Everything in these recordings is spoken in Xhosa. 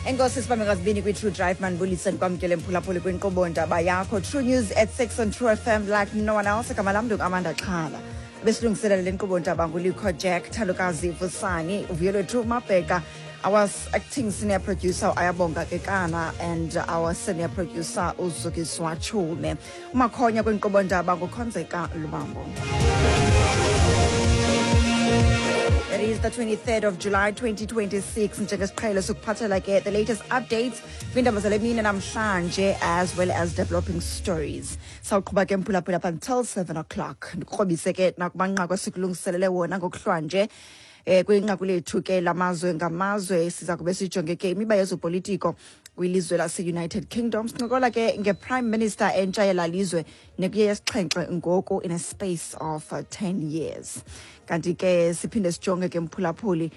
Enkosi sibambe ngazibini kwi-True Drive. Mandibulise, ndikwamkele mphulaphuli kwinkqubo ndaba yakho True News at 6 on True FM like no one else. Igama lam ndinguAmanda Xhala. Besilungiselela le nkqubo ndaba nguLikho Jack Thalukazi Vusani Vuyolwethu Mabheka, our acting senior producer Ayabonga Kekana, and our senior producer uZukiswa Chume. Umakhonya kwinkqubo ndaba nguKhonzeka Lubambo. It is the 23rd of July 2026. Njengesiqhelo sokuphathela ke the latest updates kwiindaba zale mini namhlanje as well as developing stories. Sawuqhuba ke mphulaphula up until 7 o'clock. Ndikrobise ke nakumanqaku esikulungiselele wona ngokuhlwanje. Kwinqaku lethu ke lamazwe ngamazwe siza kube sijonge ke imiba yezopolitiko kwilizwe lase-United Kingdom. Sincokola ke nge-Prime Minister entsha yela lizwe nekuye yesixhenxe ngoku in a space of 10 years. Kanti ke siphinde sijonge ke mphulaphuli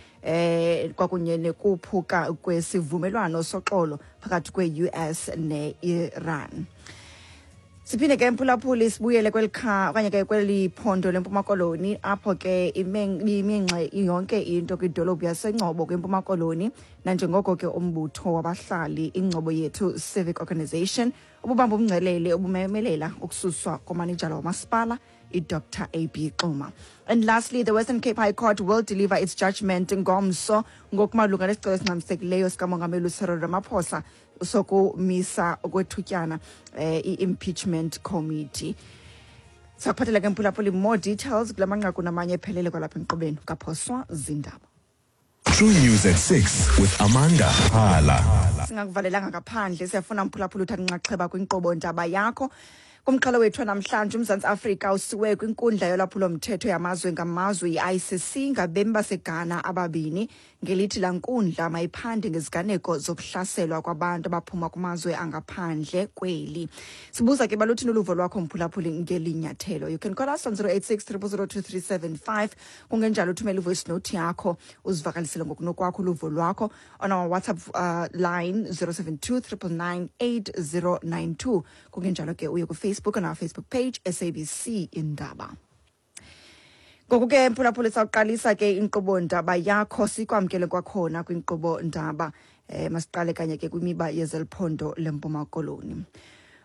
kwakunye nekuphuka kwesivumelwano soxolo phakathi kwe-US ne-Iran. Siphinde ke mphulaphuli sibuyele kweli kha okanye ke kweli phondo leMpuma Koloni, apho ke iminxe yonke into kwidolophu yaseNgcobo kwiMpuma Koloni, nanjengoko ke umbutho wabahlali iNgcobo Yethu Civic Organization ububamba umngcelele ubumemelela ukususwa komanejala wamasipala iDr AB Xuma. And lastly, the Western Cape High Court will deliver its judgment ngomso ngokumalunga nesicelo esingxamisekileyo sikamongameli uCyril Ramaphosa sokumisa okwethutyana i-impeachment committee. Sakuphathela ke mphulaphuli more details kula manqaku namanye ephelele kwalapha enkqubeni kaphoswa zindaba. True News at 6 with Amanda Hala. Singakuvalelanga ngaphandle, siyafuna mphulaphula uthatha inxaxheba kwinkqubo ndaba yakho. Kumxholo wethu namhlanje, uMzantsi Afrika usiwe kwinkundla yolwaphulo-mthetho yamazwe ngamazwe i-ICC ngabemi baseGhana ababini ngelithi laa nkundla mayiphande ngeziganeko zokuhlaselwa kwabantu abaphuma kumazwe angaphandle kweli. Sibuza ke baluthini uluvo lwakho mphulaphuli ngeli nyathelo. You can call us on 086 0002375. Kungenjalo uthumele ivoice note yakho uzivakalisele ngokunokwakho uluvo lwakho on our WhatsApp line 072 999 8092. Kungenjalo ke uye kuFacebook on our Facebook page SABC Indaba. Ngoku ke mphulaphuli sawuqalisa ke inkqubo ndaba yakho, sikwamkele kwakhona kwinkqubo ndaba. Masiqale kanye ke kwimiba yezeliphondo leMpuma Koloni.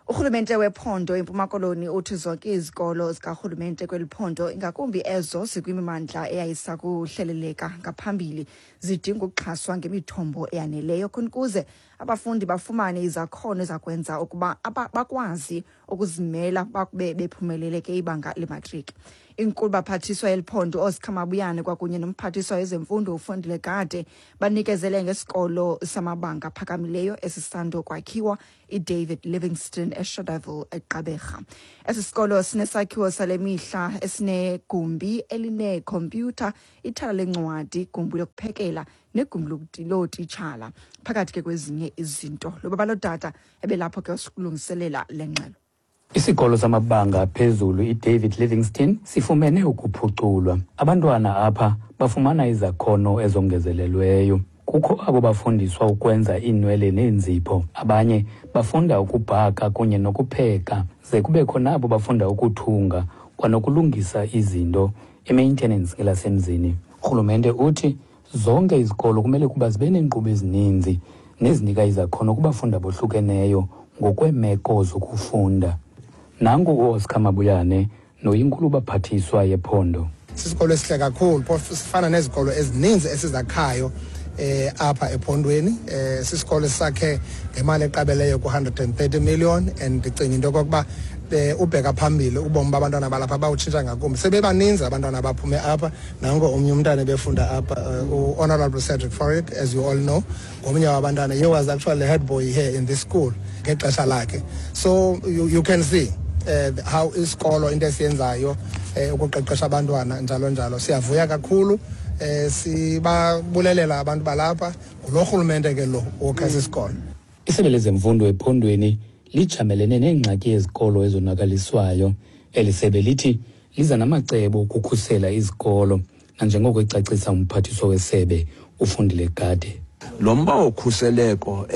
Urhulumente wephondo iMpuma Koloni uthi zonke izikolo zikarhulumente kweli phondo, ingakumbi ezo zikwimimandla eyayisakuhleleleka ngaphambili, zidinga ukuxhaswa ngemithombo eyaneleyo khona ukuze abafundi bafumane izakhono ezakwenza ukuba bakwazi ukuzimela bakube bephumelele ke ibanga lematriki. Inkulu baphathiswa eliphondo Oscar Mabuyane kwakunye nomphathiswa wezemfundo uFundile Gade banikezele ngesikolo samabanga aphakamileyo esisando kwakhiwa iDavid Livingstone eShadaville eGqeberha. Esi sikolo sinesakhiwo sale mihla esinegumbi elineekhompyutha, ithala lencwadi, igumbi lokuphekela negumbi lootitshala, phakathi ke kwezinye izinto. Lo baba lodada ebelapho ke usilungiselela le ngxelo. Isikolo samabanga aphezulu iDavid Livingstone sifumene ukuphuculwa. Abantwana apha bafumana izakhono ezongezelelweyo. Kukho abo bafundiswa ukwenza iinwele neenzipho, abanye bafunda ukubhaka kunye nokupheka, ze kubekho nabo bafunda ukuthunga kwanokulungisa izinto, i-maintenance ngelasemzini. Urhulumente uthi zonke izikolo kumele ukuba zibe neenkqubo ezininzi nezinika izakhono kubafundi abohlukeneyo ngokweemeko zokufunda. Nangu uOscar Mabuyane noyinkulu baphathiswa yephondo. Sisikolo esihle kakhulu, phofu sifana nezikolo ezininzi esizakhayo apha ephondweni. Sisikolo esakhe ngemali eqabeleyo ku-130 million, and ndicinga into yokokuba ubheka phambili ubomi babantwana balapha bawutshintsha ngakumbi. Sebebaninzi abantwana abaphume apha. Nanko omnye umntana ebefunda apha, u-Honorable Cedric Fourie, as you all know, ngomnye wabantwana. He was actually the head boy here in this school ngexesha lakhe, so you can see how isikolo into esiyenzayo ukuqeqesha abantwana njalo njalo. Siyavuya kakhulu, sibabulelela abantu balapha ngulo rhulumente ke lo wokha esi sikolo. Isebe lezemfundo ephondweni lijamelene neengxaki yezikolo ezonakaliswayo. Eli sebe lithi liza namacebo okukhusela izikolo, nanjengoko ecacisa umphathiswa wesebe uFundile Gade. Lo mba wokhuseleko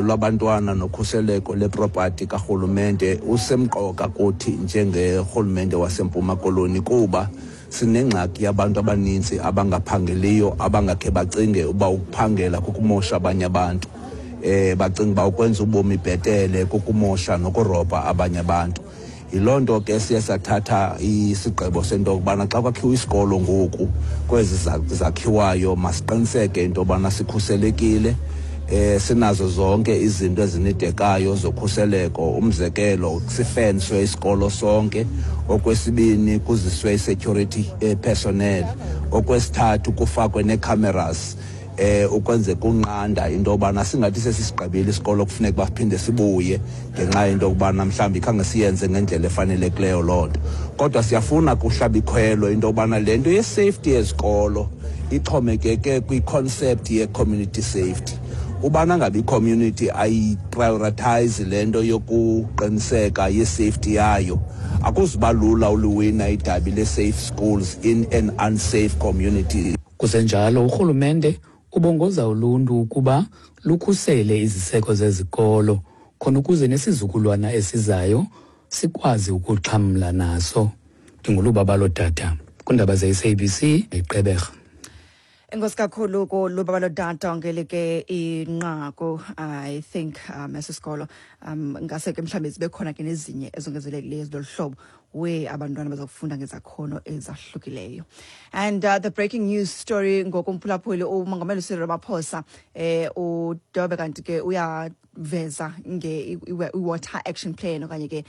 lwabantwana nokhuseleko leproperty karhulumente usemqoka kuthi njengerhulumente waseMpuma Koloni, kuba sinengxaki yabantu abaninzi abangaphangeliyo, abangakhe bacinge uba ukuphangela kukumosha abanye abantu. Bacinga uba ukwenza ubomi bhetele kukumosha nokurobha abanye abantu. Yiloo nto ke siye sathatha isigqibo sento yokubana xa kwakhiwa isikolo ngoku kwezi zakhiwayo, masiqiniseke into yobana sikhuselekile, sinazo zonke izinto ezinidekayo zokhuseleko. Umzekelo, sifenswe isikolo sonke. Okwesibini, kuziswe i-security personnel. Okwesithathu, kufakwe nee-cameras ukwenze kunqanda into yobana singathi sesisigqibile isikolo kufuneka uba siphinde sibuye ngenxa yento yokubana mhlawumbi khange siyenze ngendlela efanelekileyo loo nto. Kodwa siyafuna kuhlaba ikhwelo into yobana le nto ye-safety yezikolo ixhomekeke kwi-concept ye-community safety. Ubana ngabe i-community ayiprioritize le nto yokuqiniseka ye-safety yayo, akuzuba lula uliwina idabi le-safe schools in an unsafe community. Kusenjalo, urhulumente ubongoza uluntu ukuba lukhusele iziseko zezikolo khona ukuze nesizukulwana esizayo sikwazi ukuxhamla naso. NdinguLubabalo Dada kwiindaba ze-SABC eGqeberha. Enkosi kakhulu kuLubabalo Dada ngelike inqaku. I think esi sikolo ngase ke mhlawumbi zibe khona ke nezinye ezongezelelekileyo ezilolu hlobo we abantwana bazakufunda ngezakhono ezahlukileyo. And the breaking news story ngokumphulaphuli, umongameli uCyril Ramaphosa udobe kanti ke uyaveza nge i-water action plan, okanye ke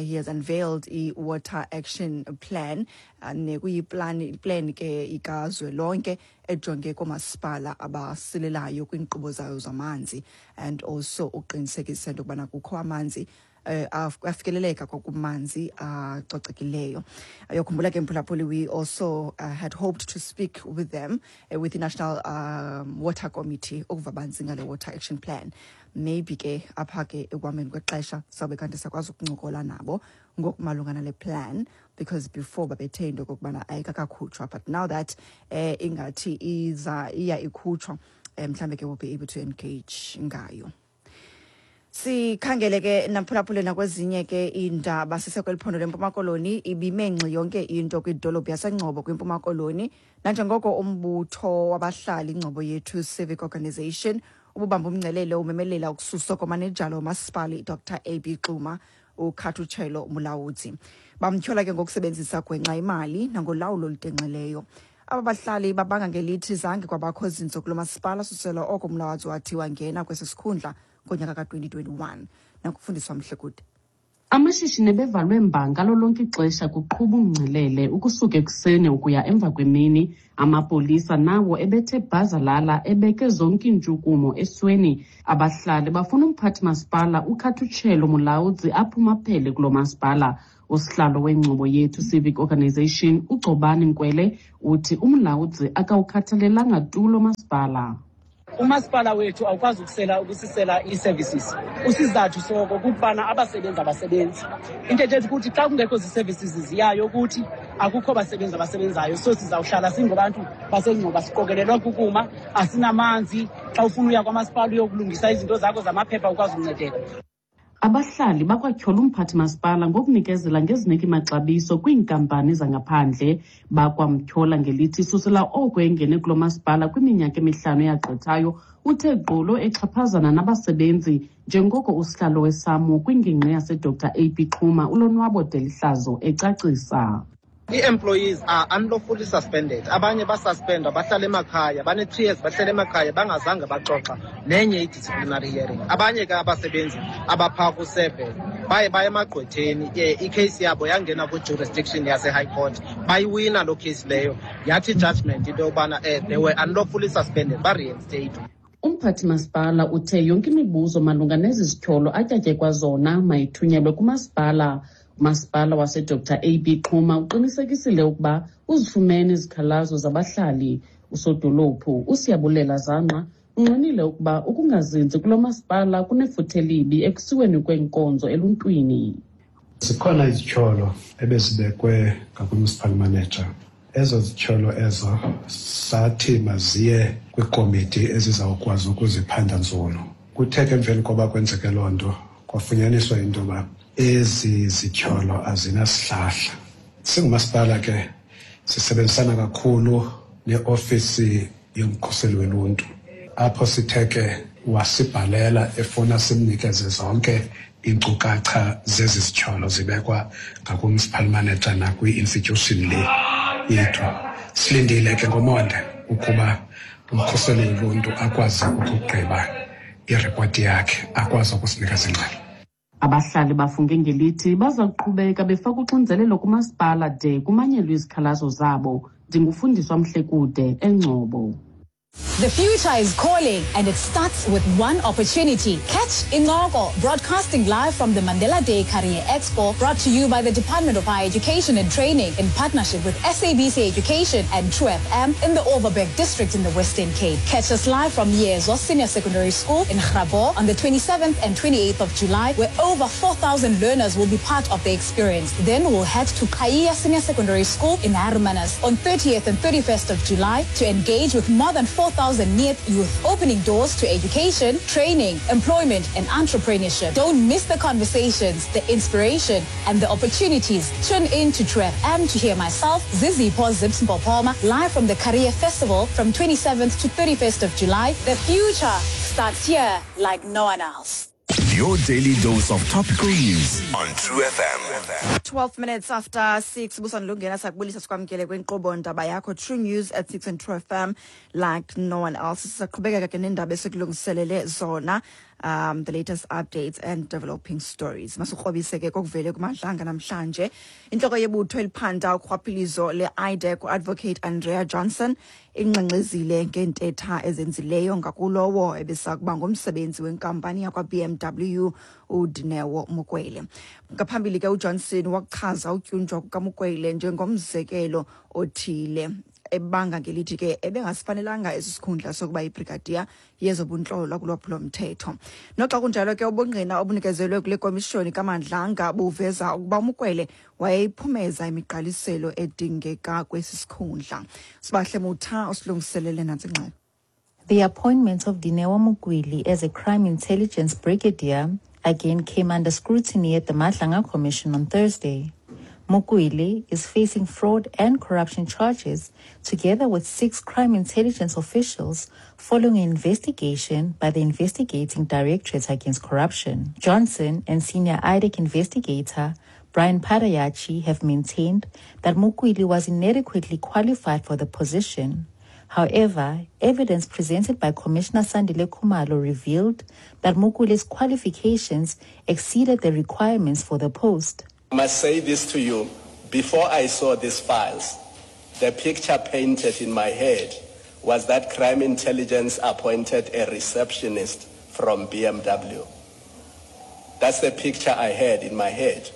he has unveiled i-water action plan, nekuyiplan plan ke ikazwelonke ejonge koomasipala abasilelayo kwiinkqubo zayo zamanzi, and also uqinisekisa into yokubana kukho amanzi, afikeleleka kwakumanzi acocekileyo. Ayokhumbula ke mphulaphuli, we also had hoped to speak with them, with the National Water Committee, ukuva banzi ngale water action plan. Maybe ke apha ke ekuhambeni kwexesha sawube kanti sakwazi ukuncokola nabo ngokumalunga nale plan, because before babethe into okokubana ayikakakhutshwa, but now that ingathi iza iya ikhutshwa, mhlawumbe ke we'll be able to engage ngayo. Sikhangele ke namphulaphule nakwezinye ke iindaba. Sisekweli phondo leMpuma Koloni, ibime ngxi yonke into kwidolophu yaseNgcobo kwiMpuma Koloni, nanjengoko umbutho wabahlali iNgcobo Yethu Civic Organization ububamba umngcelele umemelela ukususwa komanejala womasipala iDr AB Xuma, uKhathutshelo Mulaudzi. Bamtyhola ke ngokusebenzisa gwenxa imali nangolawulo olutenxileyo. Aba bahlali babanga ngelithi zange kwabakho zinzo kulo masipala susela oko Mulaudzi wathi wangena kwesi sikhundla ngonyaka ka-2021. Nakufundiswa Mhlekude. Amashishini ebevalwe mba ngalo lonke ixesha kuqhuba umngcelele ukusuka ekuseni ukuya emva kwemini. Amapolisa nawo ebethe bhazalala ebeke zonke iintshukumo esweni. Abahlali bafuna umphathi masipala uKhathutshelo Mulaudzi aphume aphele kulo masipala. Usihlalo weNgcobo Yethu Civic Organization uGcobani Nkwele uthi uMulaudzi akawukhathalelanga tu lo masipala. Umasipala wethu awukwazi ukusela ukusisela ii-services. Usizathu soko kukubana abasebenzi abasebenzi. Into ethetha ukuthi xa kungekho zii-services ziyayo kuthi akukho basebenzi abasebenzayo, so sizawuhlala singabantu baseNgcobo siqokelelwa kukuma, asinamanzi. Xa ufuna uya kwamasipala uyokulungisa izinto zakho zamaphepha, ukwazi ukuncedeka. Abahlali bakwatyhola umphathi masipala ngokunikezela ngeziniki maxabiso kwiinkampani zangaphandle. Bakwamtyhola ngelithi susela oko engene kulo masipala kwiminyaka emihlanu eyagqithayo, uthe gqolo exhaphazana nabasebenzi, njengoko usihlalo weSAMWU kwingingqi yaseDr AB Xuma uLonwabo Delihlazo ecacisa. Ii-employees are unlawfully suspended. Abanye basuspendwa, bahlala emakhaya, bane-3 years bahlala emakhaya bangazange baxoxa nenye i-disciplinary hearing. Abanye ke abasebenzi abaphaa ku-7 baye baye emagqwetheni, ikheyisi yabo yangena kwi-jurisdiction yase-high court, bayiwina loo case leyo, yathi i-judgment into yokubana they were unlawfully suspended, ba-reinstate. Umphathi masipala uthe yonke imibuzo malunga nezi zityholo atyatyekwa zona mayithunyelwe kumasipala. Umasipala waseDr AB Xuma uqinisekisile ukuba uzifumene izikhalazo zabahlali. Usodolophu uSiyabulela Zangqa unqinile ukuba ukungazinzi kulo masipala kunefuthe elibi ekusiweni kweenkonzo eluntwini. Zikhona izityholo ebezibekwe ngakwi-municipal manager. Ezo zityholo ezo sathi maziye kwiikomiti ezizawukwazi ukuziphanda nzulu. Kuthe ke emveni koba kwenzeke loo nto, kwafunyaniswa into yoba ezi zityholo azinasihlahla. Singumasipala ke sisebenzisana kakhulu neofisi yomkhuseli woluntu, apho sithe ke Wasibhalela efuna simnikeze zonke iinkcukacha zezi zityholo zibekwa ngaku-municipal manager nakwi-institution le yethu. Silindile ke ngomonde ukuba umkhuseli woluntu akwazi ukugqiba iripoti yakhe, akwazi ukusinikeza ingxelo. Abahlali bafunge ngelithi baza kuqhubeka befaka uxinzelelo kumasipala de kumanyelwe izikhalazo zabo. Ndingufundiswa Mhlekude, eNgcobo. The future is calling, and it starts with one opportunity. Catch Incoko, broadcasting live from the Mandela Day Career Expo, brought to you by the Department of Higher Education and Training in partnership with SABC Education and True FM in the Overberg District in the Western Cape. Catch us live from Yezo Senior Secondary School in Grabouw on the 27th and 28th of July, where over 4,000 learners will be part of the experience. Then we'll head to Kaya Senior Secondary School in Hermanus on 30th and 31st of July to engage with more than 4,000 NEET youth, opening doors to education, training, employment, and entrepreneurship. Don't miss the conversations, the inspiration, and the opportunities. Tune in to True FM to hear myself, Zizi Zips Mpopoma, live from the Career Festival from 27th to 31st of July. The future starts here like no one else. Your daily dose of topical news on True FM. 12 minutes after 6, busandulungena, sakubulisa, sikwamkele kwinkqubo Ndaba Yakho, True News at 6 and True FM like no one else. Sisaqhubekeka ke nendaba esikulungiselele zona, the latest updates and developing stories. Masikrobise ke kokuvele kuMadlanga namhlanje. Intloko yebutho eliphanda urhwaphilizo le-IDAC, uAdvocate Andrea Johnson, ingxengxezile ngeentetha ezenzileyo ngakulowo ebesakuba ngumsebenzi wenkampani yakwa-BMW, uDineo Mokwele. Ngaphambili ke uJohnson wakuchaza utyunjwa kukaMokwele njengomzekelo othile, ebanga ngelithi ke ebengasifanelanga esi sikhundla sokuba yibrigadiya yezobuntlola kulwaphulomthetho. Noxa kunjalo ke, ubungqina obunikezelwe kule komishoni kaMadlanga buveza ukuba uMokwele wayeyiphumeza imigqaliselo edingeka kwesi sikhundla. Sibahle Mutha usilungiselele nantsi ingxelo. The appointment of Dineo Mokwele as a crime intelligence brigadier again came under scrutiny at the Madlanga Commission on Thursday. Mokwele is facing fraud and corruption charges together with six crime intelligence officials following an investigation by the Investigating Directorate Against Corruption. Johnson and senior IDAC investigator Brian Padayachi have maintained that Mokwele was inadequately qualified for the position. However, evidence presented by Commissioner Sandile Khumalo revealed that Mokwele's qualifications exceeded the requirements for the post. I must say this to you. Before I saw these files, the picture painted in my head was that crime intelligence appointed a receptionist from BMW. That's the picture I had in my head.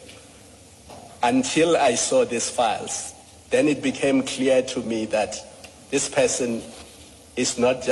Until I saw these files, then it became clear to me that this person is not just